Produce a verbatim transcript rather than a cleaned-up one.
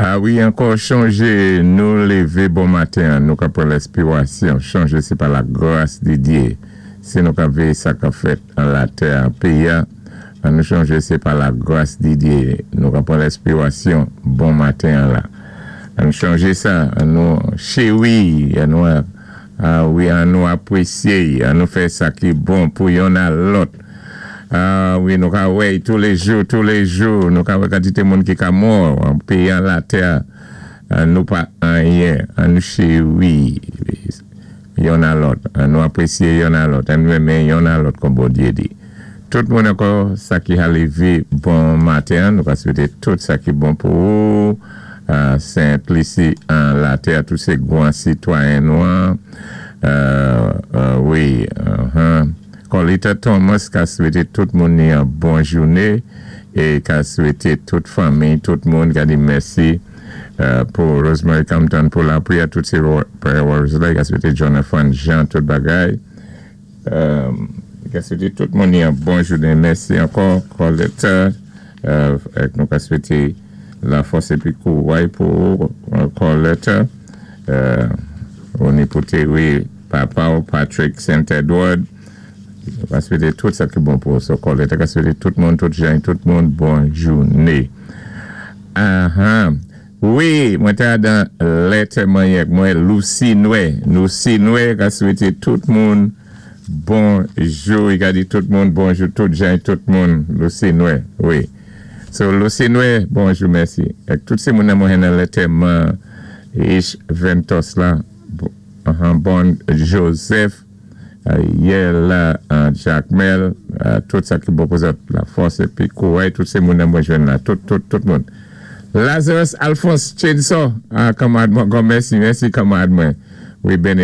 A wi, ankò chonjé, nou lévé bon maten, nou ka pran lèspirasyon, chonjé sé pa la gras di Dye. Si nou ka véyé sa k-ap fèt an latè, an péyi, an nou chonjé sé pa la gras di Dye. Nou ka pran lèspirasyon bon maten la. An nou chonjé sa, an nou chéwi, an nou a wi, an nou apwésyé, an nou fè sa ki bon pou yonn a lòt. A wi, nou ka wè touléjou, touléjou, nou ka wè kantité moun ki ka mò, an péyi an latè, an nou pa anyen, an nou chéwi yonn a lòt, an nou apwésyé yonn a lòt, an nou renmen yonn a lòt kon Bondyé di. Tout moun ankò sa ki ka lévé bon maten, nou ka swété tout sa ki bon pou ou, Sent Lisi an latè, tout sé gwan sitwayen nou an, wi, Colita Thomas ka swété tout moun ni an bon jouné é ka swété tout fanmi, tout moun ka di mèsi pou Rosemary Compton pou lapwiyè, tout sé prayer warriors la, ka swété Jonathan Jean, tout bagay. Ka swété tout moun ni an bon jouné. Mèsi ankò, Colita, nou ka swété la fòs épi kouway pou Colita. Ou ni pou Terry, papa ou Patrick Saint Edward. Ka swété tout sa ki bon pou so Colita. Ka swété tout moun, tout jan, tout moun, bon jouné. Aha. Wi, mwen té dan lèt manyèk, mwen Lucy Noé. Lucy Noé ka swété tout moun bonjou. I ka di tout moun bonjou, tout jan, tout moun. Lucy Noé, wi. So, Lucy Noé, bonjou, mèsi. Ek tout sé moun nan mwen nan lèt man Ish Ventos la, bon Joseph, Yela, Jacmel, tout sa ki bon pou zòt, la fòs épi kouway, tout sé moun nan mwen jwenn la, tout, tout, tout moun. Lazarus Alphonse Chainsaw, ah, kanmad mwen, mèsi, mèsi kanmad mwen. Wi,